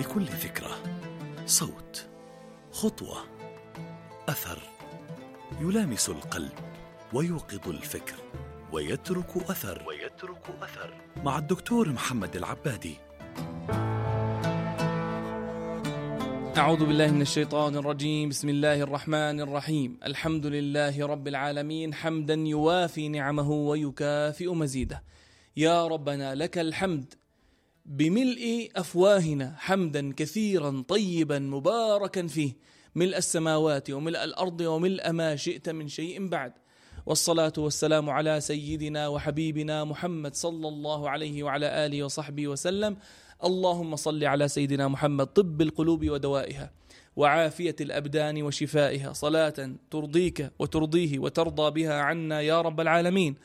لكل ذكرى صوت، خطوة، أثر يلامس القلب ويوقظ الفكر ويترك أثر مع الدكتور محمد العبادي. أعوذ بالله من الشيطان الرجيم. بسم الله الرحمن الرحيم. الحمد لله رب العالمين، حمدا يوافي نعمه ويكافئ مزيده. يا ربنا لك الحمد بملء أفواهنا، حمدا كثيرا طيبا مباركا فيه، ملء السماوات وملء الأرض وملء ما شئت من شيء بعد. والصلاة والسلام على سيدنا وحبيبنا محمد صلى الله عليه وعلى آله وصحبه وسلم. اللهم صل على سيدنا محمد طب القلوب ودوائها وعافية الأبدان وشفائها، صلاة ترضيك وترضيه وترضى بها عنا يا رب العالمين.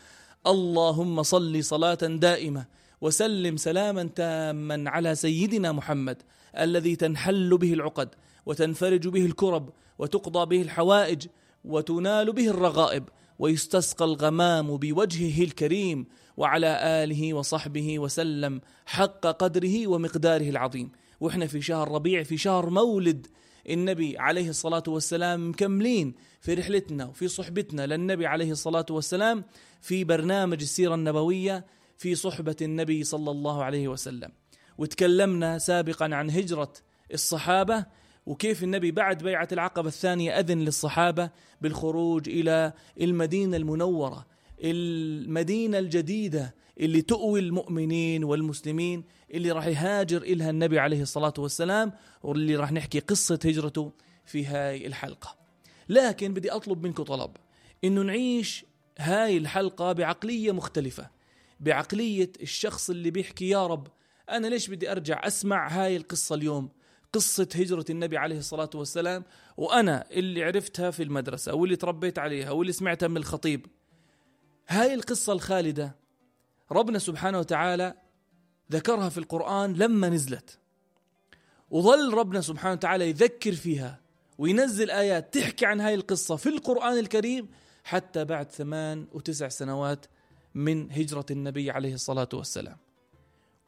اللهم صل صلاة دائمة وسلم سلاما تاما على سيدنا محمد الذي تنحل به العقد وتنفرج به الكرب وتقضى به الحوائج وتنال به الرغائب ويستسقى الغمام بوجهه الكريم، وعلى آله وصحبه وسلم حق قدره ومقداره العظيم. وإحنا في شهر ربيع، في شهر مولد النبي عليه الصلاة والسلام، مكملين في رحلتنا وفي صحبتنا للنبي عليه الصلاة والسلام في برنامج السيرة النبوية في صحبة النبي صلى الله عليه وسلم. وتكلمنا سابقا عن هجرة الصحابة وكيف النبي بعد بيعة العقبة الثانية أذن للصحابة بالخروج إلى المدينة المنورة، المدينة الجديدة اللي تؤوي المؤمنين والمسلمين، اللي راح يهاجر إلها النبي عليه الصلاة والسلام، واللي راح نحكي قصة هجرته في هاي الحلقة. لكن بدي أطلب منكم طلب، إنه نعيش هاي الحلقة بعقلية مختلفة، بعقلية الشخص اللي بيحكي يا رب أنا ليش بدي أرجع أسمع هاي القصة اليوم، قصة هجرة النبي عليه الصلاة والسلام، وأنا اللي عرفتها في المدرسة واللي تربيت عليها واللي سمعتها من الخطيب. هاي القصة الخالدة ربنا سبحانه وتعالى ذكرها في القرآن لما نزلت، وظل ربنا سبحانه وتعالى يذكر فيها وينزل آيات تحكي عن هاي القصة في القرآن الكريم حتى بعد 8 و9 سنوات من هجرة النبي عليه الصلاة والسلام.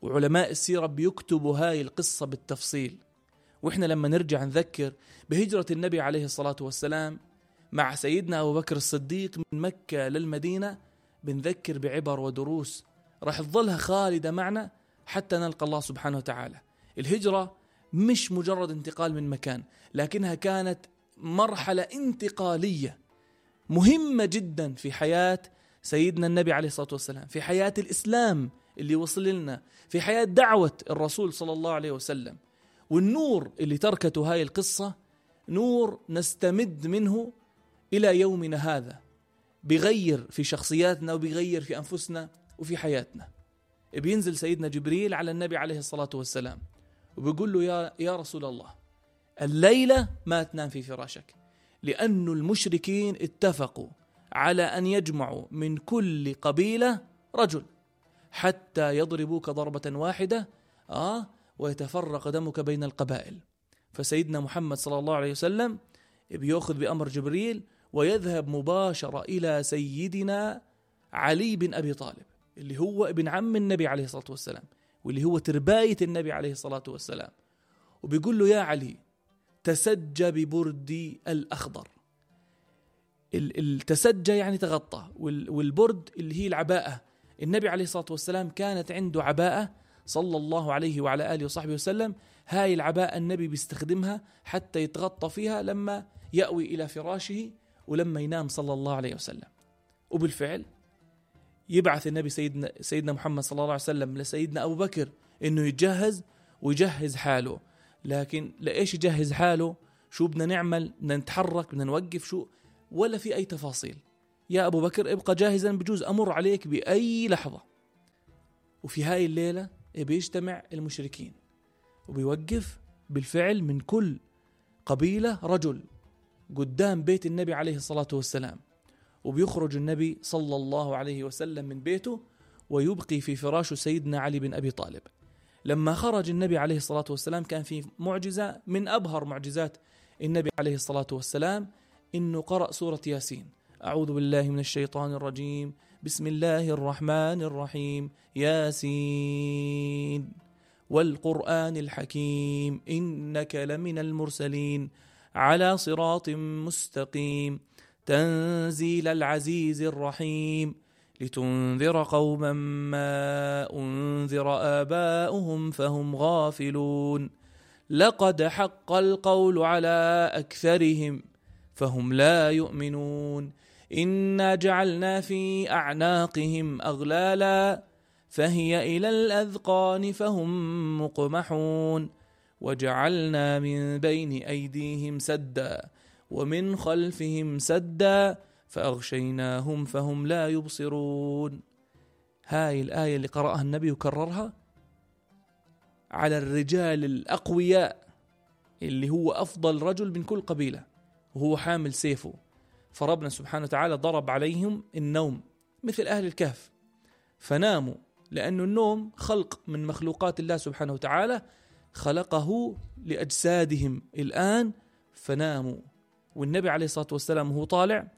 وعلماء السيرة بيكتبوا هاي القصة بالتفصيل. وإحنا لما نرجع نذكر بهجرة النبي عليه الصلاة والسلام مع سيدنا أبو بكر الصديق من مكة للمدينة، بنذكر بعبر ودروس راح تظلها خالدة معنا حتى نلقى الله سبحانه وتعالى. الهجرة مش مجرد انتقال من مكان، لكنها كانت مرحلة انتقالية مهمة جدا في حياة سيدنا النبي عليه الصلاة والسلام، في حياة الإسلام اللي وصل لنا، في حياة دعوة الرسول صلى الله عليه وسلم. والنور اللي تركته هاي القصة نور نستمد منه إلى يومنا هذا، بيغير في شخصياتنا وبيغير في أنفسنا وفي حياتنا. بينزل سيدنا جبريل على النبي عليه الصلاة والسلام وبيقول له يا رسول الله، الليلة ما تنام في فراشك، لأن المشركين اتفقوا على أن يجمعوا من كل قبيلة رجل حتى يضربوك ضربة واحدة ويتفرق دمك بين القبائل. فسيدنا محمد صلى الله عليه وسلم بيأخذ بأمر جبريل ويذهب مباشرة إلى سيدنا علي بن أبي طالب اللي هو ابن عم النبي عليه الصلاة والسلام واللي هو ترباية النبي عليه الصلاة والسلام. وبيقول له يا علي تسجى ببردي الأخضر. التسجى يعني تغطى، والبرد اللي هي العباءة. النبي عليه الصلاة والسلام كانت عنده عباءة صلى الله عليه وعلى آله وصحبه وسلم. هاي العباءة النبي بيستخدمها حتى يتغطى فيها لما يأوي إلى فراشه ولما ينام صلى الله عليه وسلم. وبالفعل يبعث النبي سيدنا محمد صلى الله عليه وسلم لسيدنا أبو بكر إنه يتجهز ويجهز حاله. لكن لإيش يجهز حاله؟ شو بدنا نعمل؟ بدنا نتحرك؟ بدنا نوقف؟ شو؟ ولا في أي تفاصيل. يا أبو بكر ابقى جاهزا، بجوز أمر عليك بأي لحظة. وفي هاي الليلة بيجتمع المشركين وبيوقف بالفعل من كل قبيلة رجل قدام بيت النبي عليه الصلاة والسلام، وبيخرج النبي صلى الله عليه وسلم من بيته ويبقي في فراشه سيدنا علي بن أبي طالب. لما خرج النبي عليه الصلاة والسلام كان في معجزة من أبهر معجزات النبي عليه الصلاة والسلام، إنه قرأ سورة ياسين. أعوذ بالله من الشيطان الرجيم، بسم الله الرحمن الرحيم، ياسين والقرآن الحكيم إنك لمن المرسلين على صراط مستقيم تنزيل العزيز الرحيم لتنذر قوما ما أنذر آباؤهم فهم غافلون لقد حق القول على أكثرهم فهم لا يؤمنون إنا جعلنا في أعناقهم أغلالا فهي إلى الأذقان فهم مقمحون وجعلنا من بين أيديهم سدا ومن خلفهم سدا فأغشيناهم فهم لا يبصرون. هاي الآية اللي قرأها النبي وكررها على الرجال الأقوياء اللي هو أفضل رجل من كل قبيلة وهو حامل سيفه، فربنا سبحانه وتعالى ضرب عليهم النوم مثل أهل الكهف فناموا، لأن النوم خلق من مخلوقات الله سبحانه وتعالى خلقه لأجسادهم الآن فناموا. والنبي عليه الصلاة والسلام وهو طالع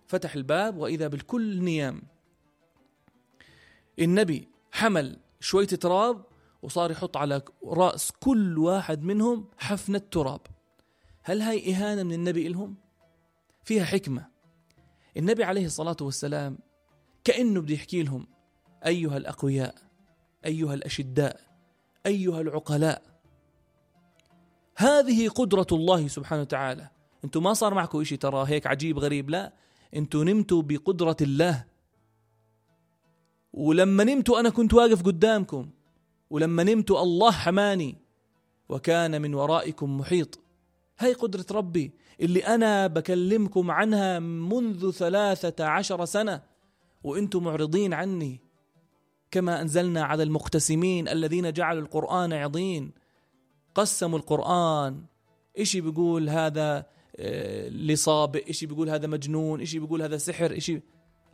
فتح الباب وإذا بالكل نيام. النبي حمل شوية تراب وصار يحط على رأس كل واحد منهم حفنة تراب. هل هاي إهانة من النبي إلهم؟ فيها حكمة. النبي عليه الصلاة والسلام كأنه بده يحكي لهم أيها الأقوياء، أيها الأشداء، أيها العقلاء، هذه قدرة الله سبحانه وتعالى. أنتم ما صار معكم إشي ترى هيك عجيب غريب، لا، أنتم نمتوا بقدرة الله، ولما نمتوا أنا كنت واقف قدامكم، ولما نمتوا الله حماني وكان من ورائكم محيط. هاي قدرة ربي اللي أنا بكلمكم عنها منذ 13 سنة وأنتم معرضين عني. كما أنزلنا على المقتسمين الذين جعلوا القرآن عضين، قسموا القرآن، إشي بيقول هذا لصابئ، إشي بيقول هذا مجنون، إشي بيقول هذا سحر، إشي.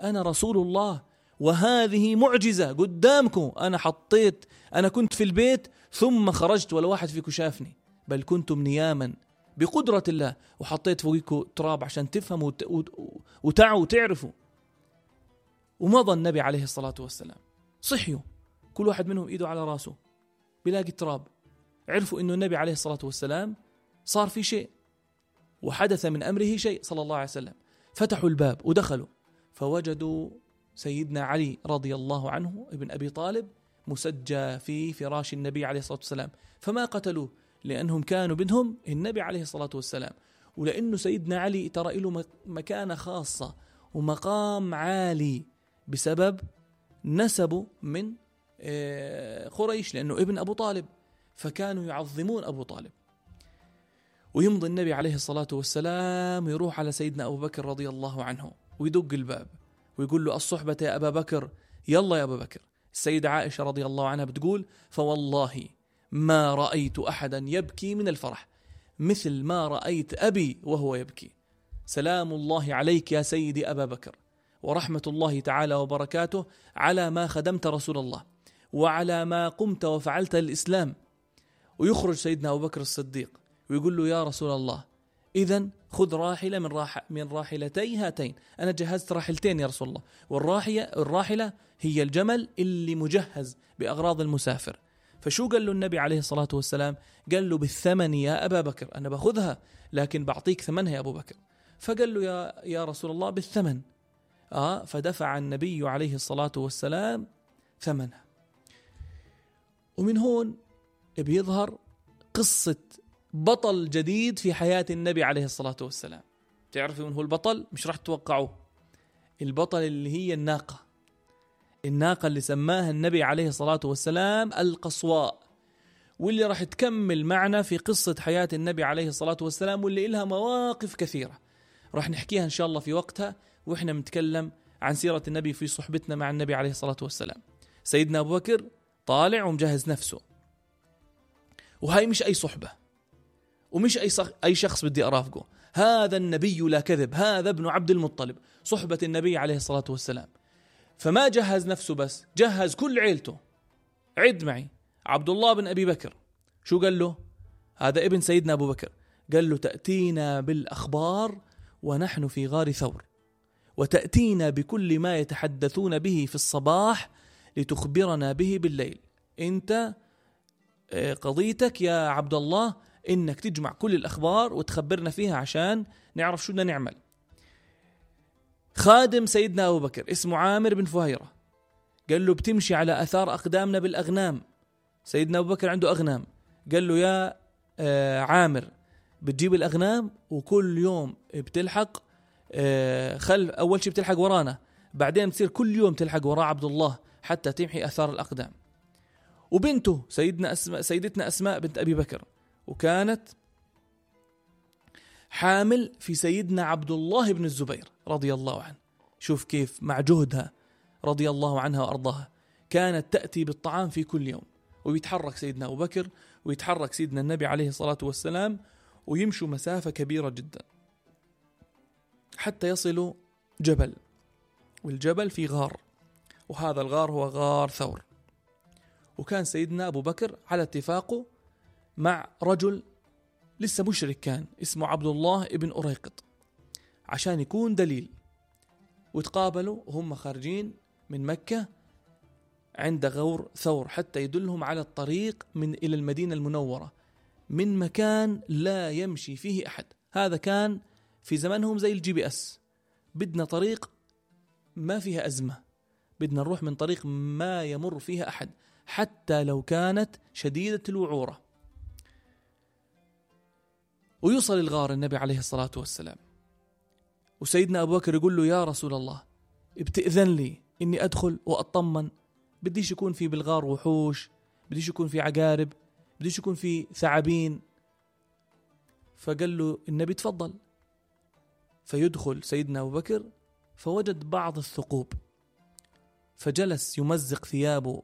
أنا رسول الله وهذه معجزة قدامكم. أنا كنت في البيت ثم خرجت ولا واحد فيكم شافني، بل كنتم نياما بقدرة الله، وحطيت فوقكم تراب عشان تفهموا وتعوا وتعرفوا. ومضى النبي عليه الصلاة والسلام، صحيوا كل واحد منهم إيده على راسه بلاقي تراب، عرفوا إنه النبي عليه الصلاة والسلام صار في شيء وحدث من أمره شيء صلى الله عليه وسلم. فتحوا الباب ودخلوا فوجدوا سيدنا علي رضي الله عنه ابن أبي طالب مسجى في فراش النبي عليه الصلاة والسلام، فما قتلوه لأنهم كانوا بدهم النبي عليه الصلاة والسلام، ولأنه سيدنا علي ترى له مكانة خاصة ومقام عالي بسبب نسبه من قريش، لأنه ابن أبو طالب، فكانوا يعظمون أبو طالب. ويمضي النبي عليه الصلاة والسلام ويروح على سيدنا أبو بكر رضي الله عنه ويدق الباب ويقول له الصحبة يا أبا بكر، يلا يا أبا بكر. السيدة عائشة رضي الله عنها بتقول فوالله ما رأيت أحدا يبكي من الفرح مثل ما رأيت أبي وهو يبكي. سلام الله عليك يا سيدي أبا بكر، ورحمة الله تعالى وبركاته على ما خدمت رسول الله وعلى ما قمت وفعلت الإسلام. ويخرج سيدنا أبو بكر الصديق ويقول له يا رسول الله إذن خذ راحلة من راحلتي هاتين، أنا جهزت راحلتين يا رسول الله، والراحلة هي الجمل اللي مجهز بأغراض المسافر. فشو قال له النبي عليه الصلاة والسلام؟ قال له بالثمن يا أبا بكر، أنا باخذها لكن بعطيك ثمنها يا أبو بكر. فقال له يا رسول الله بالثمن. فدفع النبي عليه الصلاة والسلام ثمنها. ومن هون بيظهر قصة بطل جديد في حياة النبي عليه الصلاة والسلام. تعرفوا من هو البطل؟ مش راح تتوقعوه. البطل اللي هي الناقة اللي سماها النبي عليه الصلاة والسلام القصواء، واللي راح تكمل معنا في قصة حياة النبي عليه الصلاة والسلام، واللي إلها مواقف كثيرة راح نحكيها إن شاء الله في وقتها وإحنا بنتكلم عن سيرة النبي في صحبتنا مع النبي عليه الصلاة والسلام. سيدنا أبو بكر طالع ومجهز نفسه، وهاي مش أي صحبة ومش أي شخص بدي أرافقه، هذا النبي لا كذب، هذا ابن عبد المطلب، صحبة النبي عليه الصلاة والسلام. فما جهز نفسه بس، جهز كل عيلته. عد معي، عبد الله بن أبي بكر شو قال له؟ هذا ابن سيدنا أبو بكر. قال له تأتينا بالأخبار ونحن في غار ثور، وتأتينا بكل ما يتحدثون به في الصباح لتخبرنا به بالليل. أنت قضيتك يا عبد الله إنك تجمع كل الأخبار وتخبرنا فيها عشان نعرف شو بدنا نعمل. خادم سيدنا أبو بكر اسمه عامر بن فهيرة قال له بتمشي على أثار أقدامنا بالأغنام. سيدنا أبو بكر عنده أغنام، قال له يا عامر بتجيب الأغنام وكل يوم بتلحق خلف، أول شيء بتلحق ورانا، بعدين بتصير كل يوم تلحق وراء عبد الله حتى تمحي أثار الأقدام. وبنته سيدتنا أسماء بنت أبي بكر، وكانت حامل في سيدنا عبد الله بن الزبير رضي الله عنه. شوف كيف مع جهدها رضي الله عنها وأرضاها كانت تأتي بالطعام في كل يوم، ويتحرك سيدنا أبو بكر ويتحرك سيدنا النبي عليه الصلاة والسلام ويمشوا مسافة كبيرة جدا حتى يصلوا جبل، والجبل في غار، وهذا الغار هو غار ثور. وكان سيدنا أبو بكر على اتفاقه مع رجل لسه مشرك كان اسمه عبد الله ابن أريقط عشان يكون دليل. وتقابلوا وهم خارجين من مكة عند غور ثور حتى يدلهم على الطريق إلى المدينة المنورة من مكان لا يمشي فيه أحد. هذا كان في زمانهم زي الGPS، بدنا طريق ما فيها أزمة، بدنا نروح من طريق ما يمر فيها أحد حتى لو كانت شديدة الوعورة. ويوصل الغار النبي عليه الصلاة والسلام، وسيدنا أبو بكر يقول له يا رسول الله بتأذن لي إني أدخل وأطمن، بديش يكون في بالغار وحوش، بديش يكون في عقارب، بديش يكون في ثعابين. فقال له النبي تفضل. فيدخل سيدنا أبو بكر فوجد بعض الثقوب، فجلس يمزق ثيابه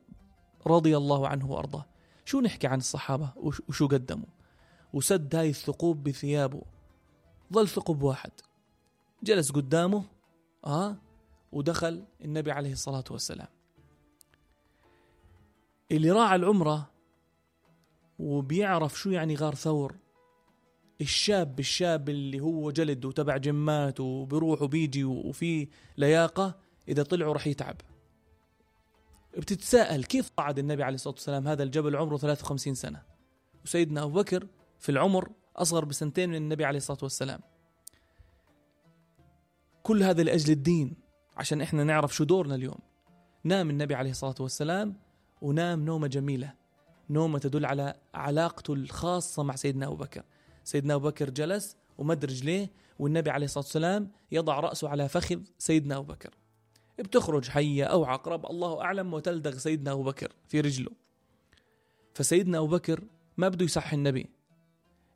رضي الله عنه وأرضاه. شو نحكي عن الصحابة وشو قدموا، وسد هاي الثقوب بثيابه، ظل ثقب واحد جلس قدامه ودخل النبي عليه الصلاة والسلام. اللي راعى العمرة وبيعرف شو يعني غار ثور، الشاب اللي هو جلد وتبع جمات وبيروح وبيجي وفي لياقة، إذا طلعوا رح يتعب. بتتساءل كيف صعد النبي عليه الصلاة والسلام هذا الجبل عمره 53 سنة، وسيدنا أبو بكر في العمر أصغر بسنتين من النبي عليه الصلاة والسلام. كل هذا لأجل الدين، عشان إحنا نعرف شو دورنا اليوم. نام النبي عليه الصلاة والسلام ونام نومة جميلة، نومة تدل على علاقته الخاصة مع سيدنا أبو بكر. سيدنا أبو بكر جلس ومد رجليه، والنبي عليه الصلاة والسلام يضع رأسه على فخذ سيدنا أبو بكر. بتخرج حية أو عقرب الله أعلم وتلدغ سيدنا أبو بكر في رجله. فسيدنا أبو بكر ما بده يصحي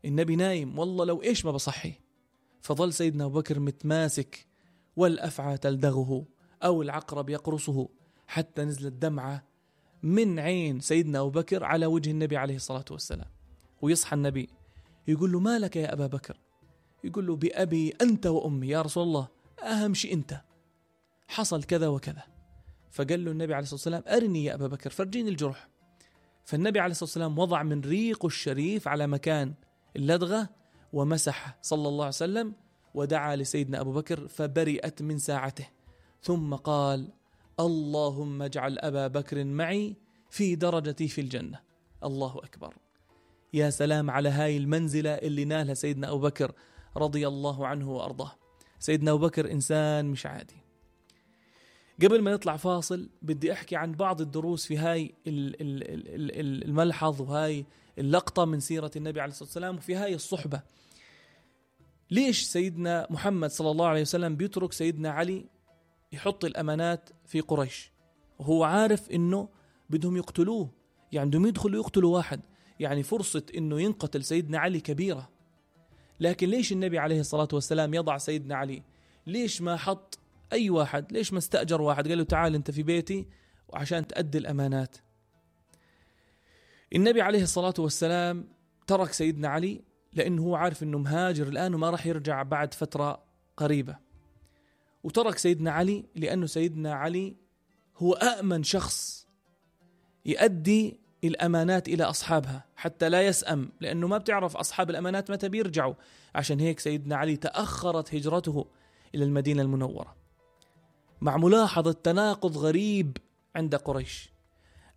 النبي نايم، والله لو إيش ما بصحي. فظل سيدنا أبو بكر متماسك، والأفعى تلدغه أو العقرب يقرصه، حتى نزلت دمعة من عين سيدنا أبو بكر على وجه النبي عليه الصلاة والسلام. ويصحى النبي يقول له ما لك يا أبا بكر؟ يقول له بأبي أنت وأمي يا رسول الله، أهم شيء أنت، حصل كذا وكذا. فقال له النبي عليه الصلاة والسلام أرني يا أبا بكر، فرجيني الجرح. فالنبي عليه الصلاة والسلام وضع من ريقه الشريف على مكان اللدغة ومسح صلى الله عليه وسلم، ودعا لسيدنا أبو بكر فبرئت من ساعته، ثم قال اللهم اجعل أبا بكر معي في درجتي في الجنة. الله أكبر. يا سلام على هاي المنزلة اللي نالها سيدنا أبو بكر رضي الله عنه وأرضاه. سيدنا أبو بكر إنسان مش عادي. قبل ما نطلع فاصل بدي أحكي عن بعض الدروس في هاي الملحظ وهاي اللقطة من سيرة النبي عليه الصلاة والسلام وفي هاي الصحبة. ليش سيدنا محمد صلى الله عليه وسلم بيترك سيدنا علي يحط الأمانات في قريش وهو عارف إنه بدهم يقتلوه، يعني بدهم يدخلوا يقتلوا واحد، يعني فرصة إنه ينقتل سيدنا علي كبيرة. لكن ليش النبي عليه الصلاة والسلام يضع سيدنا علي؟ ليش ما حط أي واحد؟ ليش ما استأجر واحد قال له تعال أنت في بيتي وعشان تأدي الأمانات؟ النبي عليه الصلاة والسلام ترك سيدنا علي لأنه هو عارف أنه مهاجر الآن وما راح يرجع بعد فترة قريبة، وترك سيدنا علي لأنه سيدنا علي هو أأمن شخص يؤدي الأمانات إلى أصحابها حتى لا يسأم، لأنه ما بتعرف أصحاب الأمانات متى بيرجعوا. عشان هيك سيدنا علي تأخرت هجرته إلى المدينة المنورة، مع ملاحظة تناقض غريب عند قريش.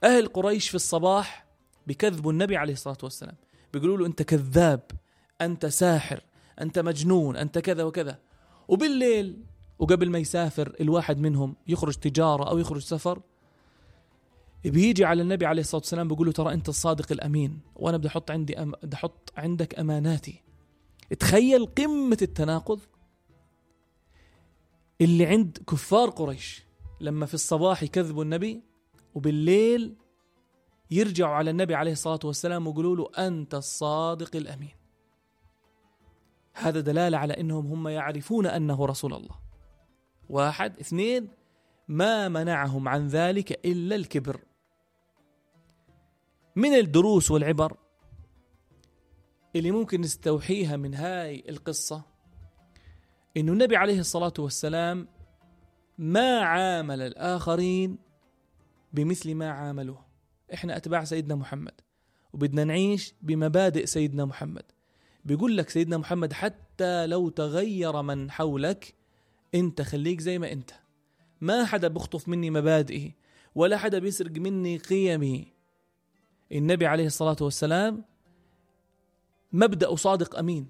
أهل قريش في الصباح بكذبوا النبي عليه الصلاة والسلام، بيقولوا له أنت كذاب، أنت ساحر، أنت مجنون، أنت كذا وكذا. وبالليل وقبل ما يسافر الواحد منهم يخرج تجارة أو يخرج سفر، بيجي على النبي عليه الصلاة والسلام بيقول له ترى أنت الصادق الأمين، وأنا بدي أحط عندك أماناتي. تخيل قمة التناقض اللي عند كفار قريش، لما في الصباح يكذبوا النبي وبالليل يرجعوا على النبي عليه الصلاة والسلام ويقولوا له أنت الصادق الأمين. هذا دلالة على أنهم هم يعرفون أنه رسول الله. 1. 2. ما منعهم عن ذلك إلا الكبر. من الدروس والعبر اللي ممكن نستوحيها من هاي القصة إنه النبي عليه الصلاة والسلام ما عامل الآخرين بمثل ما عاملوه. إحنا أتباع سيدنا محمد وبدنا نعيش بمبادئ سيدنا محمد. بيقول لك سيدنا محمد حتى لو تغير من حولك أنت خليك زي ما أنت، ما حدا بيخطف مني مبادئي ولا حدا بيسرق مني قيمي. النبي عليه الصلاة والسلام مبدأ صادق أمين.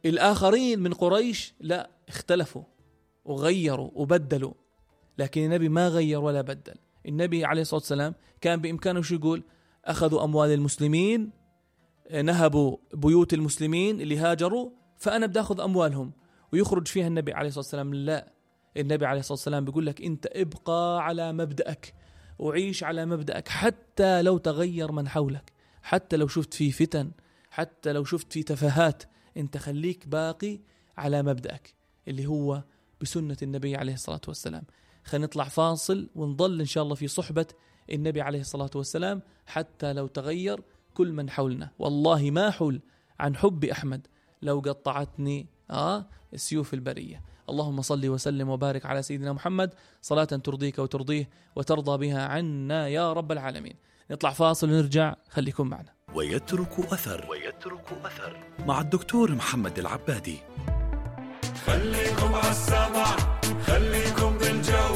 الآخرين من قريش لا، اختلفوا وغيروا وبدلوا، لكن النبي ما غير ولا بدل. النبي عليه الصلاة والسلام كان بإمكانه شو يقول؟ أخذوا أموال المسلمين، نهبوا بيوت المسلمين اللي هاجروا، فأنا بدي أخذ أموالهم، ويخرج فيها النبي عليه الصلاة والسلام. لا، النبي عليه الصلاة والسلام بيقول لك أنت ابقى على مبدأك وعيش على مبدأك حتى لو تغير من حولك، حتى لو شفت فيه فتن، حتى لو شفت فيه تفاهات، أنت خليك باقي على مبدأك اللي هو بسنة النبي عليه الصلاة والسلام. خلينا نطلع فاصل ونضل إن شاء الله في صحبة النبي عليه الصلاة والسلام حتى لو تغير كل من حولنا. والله ما حول عن حب أحمد لو قطعتني سيوف البرية. اللهم صل وسلم وبارك على سيدنا محمد صلاة ترضيك وترضيه وترضى بها عنا يا رب العالمين. نطلع فاصل ونرجع، خليكم معنا. ويترك أثر مع الدكتور محمد العبادي. خليكم عالسمع، خليكم بالجو،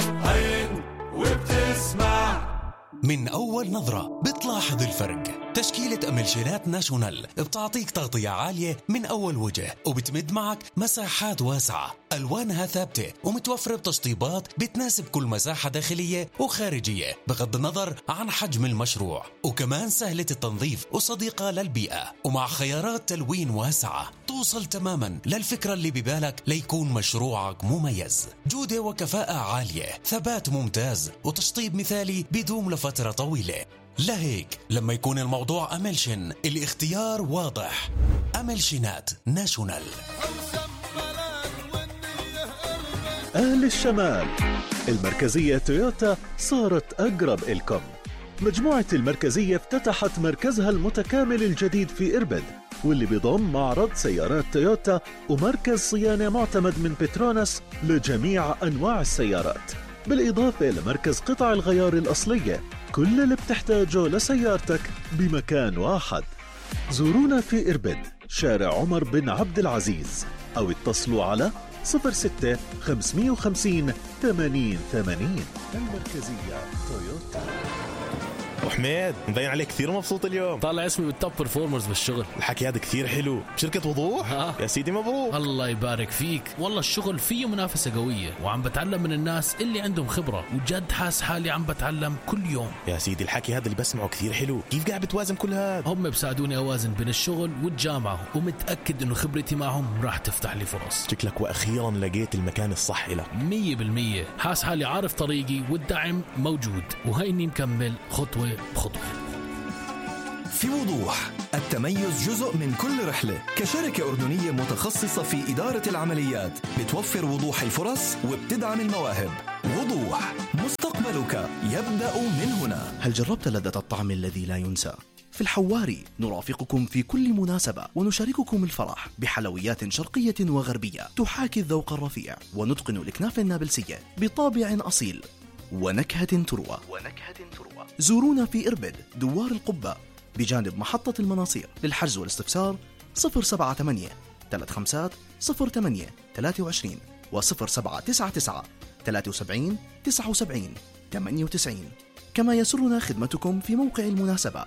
هين وبتسمع. من أول نظرة بتلاحظ الفرق. تشكيلة أملشينات ناشونال بتعطيك تغطية عالية من أول وجه، وبتمد معك مساحات واسعة، ألوانها ثابتة ومتوفرة بتشطيبات بتناسب كل مساحة داخلية وخارجية بغض النظر عن حجم المشروع، وكمان سهلة التنظيف وصديقة للبيئة، ومع خيارات تلوين واسعة توصل تماما للفكرة اللي ببالك ليكون مشروعك مميز. جودة وكفاءة عالية، ثبات ممتاز، وتشطيب مثالي بيدوم لفترة طويلة. لهيك لما يكون الموضوع أملشن الاختيار واضح. أملشنات ناشونال. أهل الشمال، المركزية تويوتا صارت أقرب إلكم. مجموعة المركزية افتتحت مركزها المتكامل الجديد في إربد، واللي بيضم معرض سيارات تويوتا ومركز صيانة معتمد من بتروناس لجميع أنواع السيارات، بالإضافة لمركز قطع الغيار الأصلية. كل اللي بتحتاجه لسيارتك بمكان واحد. زورونا في إربد، شارع عمر بن عبد العزيز، أو اتصلوا على 06 550 80 80. المركزية تويوتا. وحميد مبين عليك كثير مبسوط اليوم. طالع اسمي بالتوب برفورمرز بالشغل. الحكي هذا كثير حلو. بشركة وضوح؟ يا سيدي مبروك. الله يبارك فيك. والله الشغل فيه منافسة قوية، وعم بتعلم من الناس اللي عندهم خبرة، وجد حاس حالي عم بتعلم كل يوم. يا سيدي الحكي هذا اللي بسمعه كثير حلو. كيف قاعد بتوازن كل هذا؟ هم بساعدوني أوازن بين الشغل والجامعة، ومتأكد إنه خبرتي معهم راح تفتح لي فرص. شكلك وأخيرا لقيت المكان الصح لك. 100%. حاس حالي عارف طريقي والدعم موجود، وهيني مكمل خطوة بخطوة. في وضوح، التميز جزء من كل رحلة. كشركة أردنية متخصصة في إدارة العمليات، بتوفر وضوح الفرص وبتدعم المواهب. وضوح، مستقبلك يبدأ من هنا. هل جربت لذة الطعم الذي لا ينسى؟ في الحواري نرافقكم في كل مناسبة ونشارككم الفرح بحلويات شرقية وغربية تحاكي الذوق الرفيع، ونتقن الأكناف النابلسية بطابع أصيل ونكهة تروى. زورونا في إربد، دوار القبة، بجانب محطة المناصير. للحجز والاستفسار 078 35 08 23 و 0799 73 79 98. كما يسرنا خدمتكم في موقع المناسبة.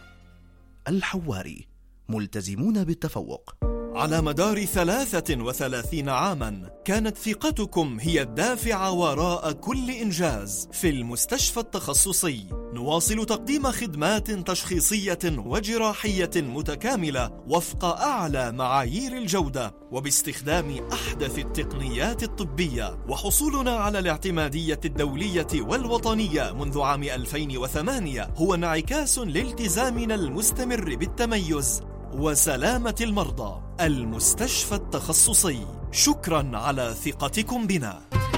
الحواري، ملتزمون بالتفوق. على مدار 33 عاماً كانت ثقتكم هي الدافع وراء كل إنجاز. في المستشفى التخصصي نواصل تقديم خدمات تشخيصية وجراحية متكاملة وفق أعلى معايير الجودة وباستخدام أحدث التقنيات الطبية، وحصولنا على الاعتمادية الدولية والوطنية منذ عام 2008 هو انعكاس لالتزامنا المستمر بالتميز وسلامة المرضى. المستشفى التخصصي، شكراً على ثقتكم بنا.